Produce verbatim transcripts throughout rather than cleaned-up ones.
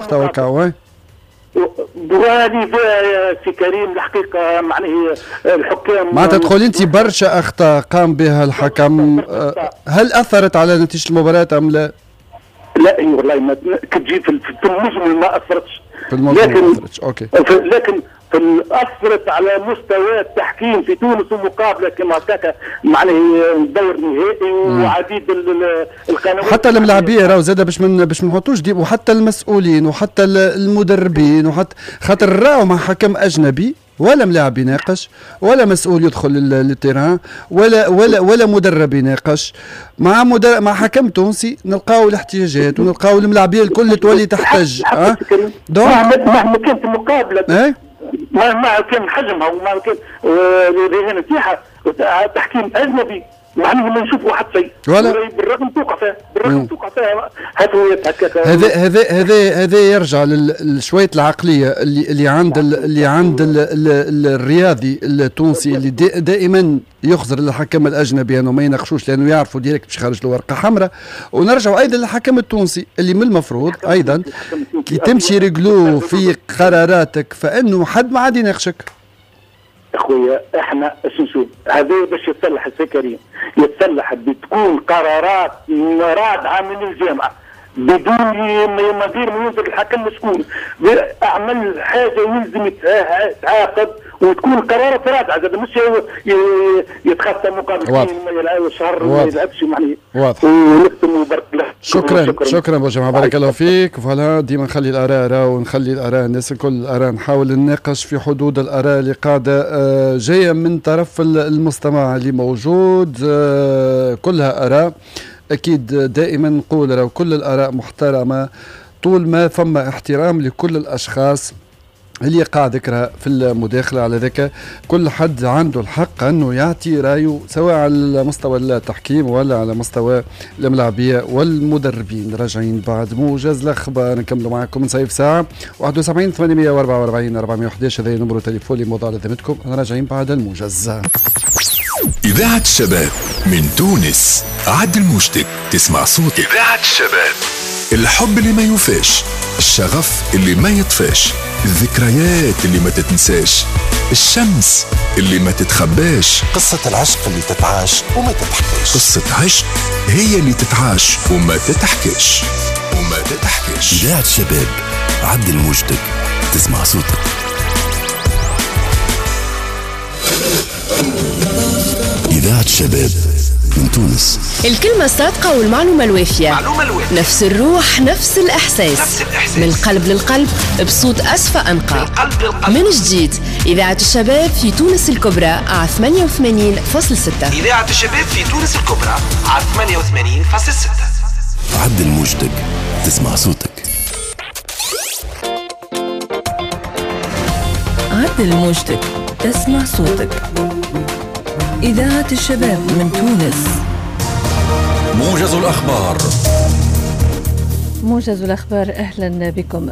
وقتها. وهذه في كريم الحقيقة معناه الحكام معناتها تقول انت برشا اخطاء قام بها الحكم، هل اثرت على نتيجة المباراة ام لا؟ لا اي والله ما كتجي في المجمل ما اثرتش، في المجمل لكن ما اثرتش. okay. لكن في اثرت على مستوى التحكيم في تونس ومقابله كما هكاك معناه دور نهائي وعديد القنوات حتى الملاعبيه راهو زاد باش من باش ما نحطوش دي، وحتى المسؤولين وحتى المدربين وحتى خاطر راهو مع حكم اجنبي ولا ملاعب يناقش ولا مسؤول يدخل لل terrain ولا ولا ولا مدرب يناقش مع مدرب مع حكم تونسي نلقاو الاحتجاجات ونلقاو الملاعبيه الكل تولي تحتج. أه؟ donc مهما كانت المقابلة أه؟ مهما كان حجمها ومهما كان الرهان نتاعها تحكيم اجنبي معناه ما نشوفوا حتى شيء بالرغم توقع فيها بالرغم توقع فيها هكاك. هذا هذا هذا هذا يرجع لشويه العقلية اللي اللي عند اللي عند الرياضي التونسي اللي دائما يخزر للحكم الاجنبي انه ما يناقشوش لانه يعرفوا direct باش يخرج له ورقة حمراء. ونرجع ايضا للحكم التونسي اللي من المفروض ايضا كي تمشي réglo في قراراتك فانه حد ما عاد يناقشك. اخويا احنا اش نشوف هذا باش يتصلح السي كريم، يتصلح بتكون قرارات رادعة من الجامعة بدون ما غير ما ينظر الحكم شكون اعمل حاجة يلزم يتعاقب وتكون قرارات رادعة زاد مش يتخطى مقابل ما يلعب شهر وما يلعبش معناها. واضح. ونختم وبارك الله. شكرا شكرا, شكرا بوجمعة بارك الله فيك. voilà ديما نخلي الاراء راهو ونخلي الاراء الناس الكل الاراء نحاول نناقش في حدود الاراء اللي قاعدة جاية من طرف المستمع اللي موجود، كلها اراء اكيد دائما نقول راهو كل الاراء محترمه طول ما فما احترام لكل الاشخاص اللي قاعد ذكرها في المداخلة. على ذاك كل حد عنده الحق أنه يعطي رأيه سواء على مستوى التحكيم ولا على مستوى الملاعبية والمدربين. راجعين بعد موجز الأخبار نكملوا معكم نصيف ساعة واحد وسبعين ثمانمئة وأربعة وأربعين أربعمئة وأحد عشر هذا نمرو تليفوني موضوع لذمتكم. راجعين بعد الموجز. إذاعة الشباب من تونس، عدل موجتك تسمع صوتك. إذاعة الشباب، الحب اللي ما يوفاش، الشغف اللي ما يطفاش، الذكريات اللي ما تتنساش، الشمس اللي ما تتخباش، قصة العشق اللي تتعاش وما تتحكاش. قصة عشق هي اللي تتعاش وما تتحكاش وما تتحكاش. إذاعة الشباب، عدل موجتك تسمع صوتك. إذاعة الشباب من تونس. الكلمة الصادقة والمعلومة الوافية، معلومة الوافية. نفس الروح، نفس الإحساس، نفس الإحساس. من القلب للقلب بصوت أصفى أنقى. من, من جديد إذاعة الشباب في تونس الكبرى على ثمانية وثمانين فاصلة ستة. إذاعة الشباب في تونس الكبرى على ثمانية وثمانين فاصلة ستة. عدل موجتك تسمع صوتك. عدل موجتك تسمع صوتك. إذاعة الشباب من تونس. موجز الأخبار. موجز الأخبار، أهلا بكم.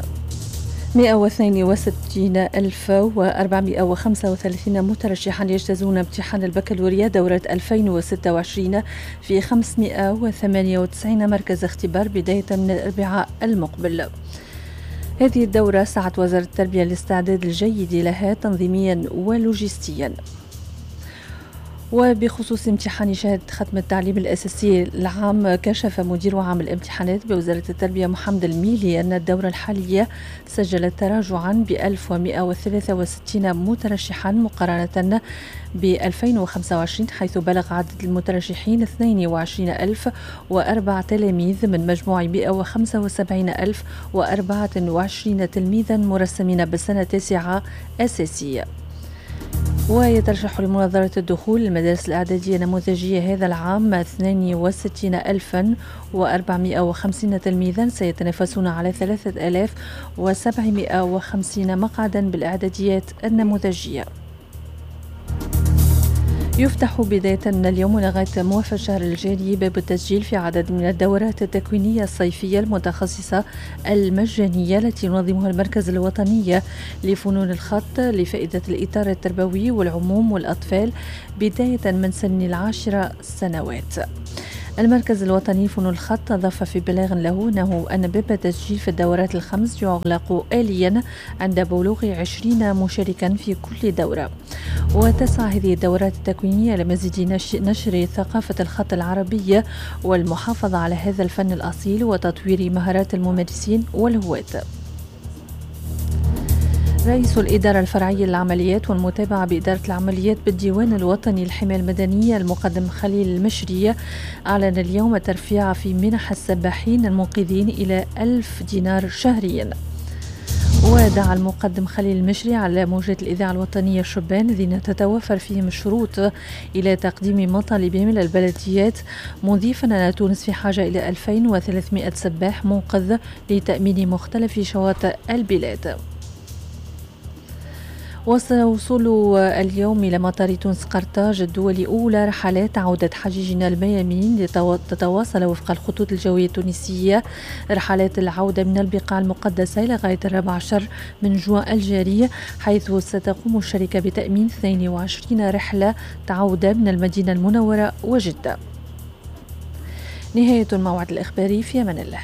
مئة واثنين وستين ألف وأربعمئة وخمسة وثلاثين مترشحا يجتازون امتحان البكالوريا دورة ألفين وستة وعشرين في خمسمئة وثمانية وتسعين مركز اختبار بداية من الأربعاء المقبل. هذه الدورة سعت وزارة التربية للاستعداد الجيد لها تنظيميا ولوجستيا. وبخصوص امتحان شهادة ختم التعليم الأساسي العام، كشف مدير عام الامتحانات بوزارة التربية محمد الميلي أن الدورة الحالية سجلت تراجعا ب ألف ومئة وثلاثة وستين مترشحا مقارنة ب ألفين وخمسة وعشرين، حيث بلغ عدد المترشحين اثنين وعشرين ألف وأربعة تلاميذ من مجموع مئة وخمسة وسبعين ألف وأربعة وعشرين تلميذا مرسمين بالسنة التاسعة أساسية. ويترشح لمناظرة الدخول للمدارس الإعدادية النموذجية هذا العام اثنين وستين ألفا وأربعمئة وخمسين تلميذا سيتنافسون على ثلاثة آلاف وسبعمئة وخمسين مقعدا بالإعداديات النموذجية. يفتح بداية من اليوم لغاية موافق الشهر الجاري باب التسجيل في عدد من الدورات التكوينية الصيفية المتخصصة المجانية التي ينظمها المركز الوطني لفنون الخط لفائدة الإطار التربوي والعموم والأطفال بداية من سن العاشرة سنوات. المركز الوطني لفنون الخط أضاف في بلاغ له أنه أن باب التسجيل في الدورات الخمس يغلق آليا عند بلوغ عشرين مشاركا في كل دورة. وتسعى هذه الدورات التكوينية لمزيد نشر ثقافة الخط العربية والمحافظة على هذا الفن الأصيل وتطوير مهارات الممارسين والهواة. رئيس الإدارة الفرعية للعمليات والمتابعة بإدارة العمليات بالديوان الوطني للحماية المدنية المقدم خليل المشري أعلن اليوم الترفيع في منح السباحين المنقذين إلى ألف دينار شهريا. ودعا المقدم خليل المشري على موجات الإذاعة الوطنية الشبان الذين تتوفر فيهم الشروط إلى تقديم مطالبهم إلى البلديات، مضيفا أن تونس في حاجة إلى ألفين وثلاثمائة سباح منقذ لتأمين مختلف شواطئ البلاد. وصول اليوم إلى مطار تونس قرطاج الدولي أولى رحلات عودة حجيجنا الميامين لتتواصل وفق الخطوط الجوية التونسية رحلات العودة من البقاع المقدسة إلى غاية الرابع عشر من جوان الجاري، حيث ستقوم الشركة بتأمين اثنين وعشرين رحلة عودة من المدينة المنورة وجدة. نهاية الموعد الإخباري، في أمان الله.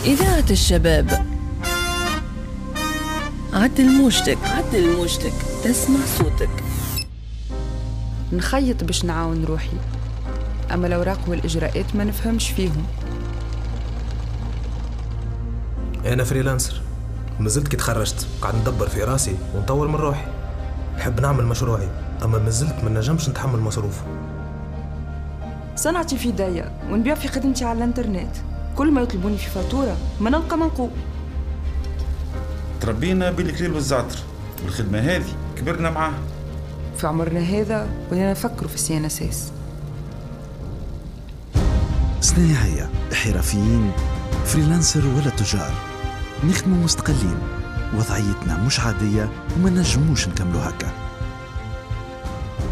إذاعة الشباب، عدل موجتك، عدل موجتك، تسمع صوتك. نخيط باش نعاون روحي، أما الأوراق والإجراءات ما نفهمش فيهم. أنا freelancer، مازلت كي تخرجت قاعد ندبر في راسي ونطور من روحي. نحب نعمل مشروعي، أما مازلت ما نجمش نتحمل مصروفه. صنعتي في داية ونبيع في خدمتي على الانترنت، كل ما يطلبوني في فاتورة ما نلقى منقول. تربينا بالكليل والزعتر، والخدمة هذه كبرنا معاها. في عمرنا هذا ولينا نفكروا في ال CNSS. صنايعية، حرفيين، freelancer ولا تجار، نخدموا مستقلين، وضعيتنا مش عادية وما نجموش نكملوا هكا.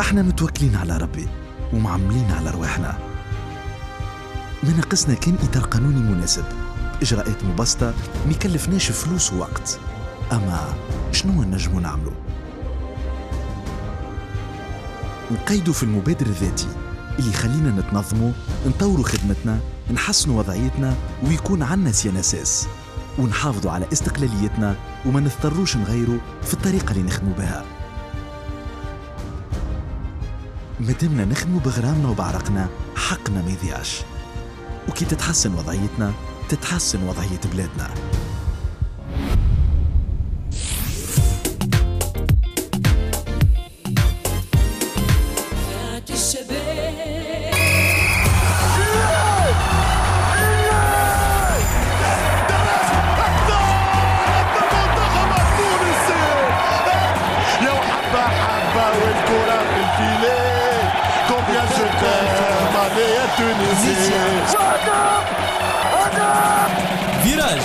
احنا متوكلين على ربي ومعملين على رواحنا. ما ناقصنا كان إطار قانوني مناسب، إجراءات مبسطة، ما يكلفناش فلوس ووقت. أما شنو نجمو نعملو؟ نقيدو في المبادر الذاتي اللي يخلينا نتنظمو، نطورو خدمتنا، نحسنو وضعيتنا، ويكون عنا CNSS، ونحافظوا على استقلاليتنا وما نضطروش نغيرو في الطريقة اللي نخدمو بها. مادامنا نخدمو بغرامنا وبعرقنا، حقنا ما يضيعش، وكي تتحسن وضعيتنا تتحسن وضعية بلادنا. فيراج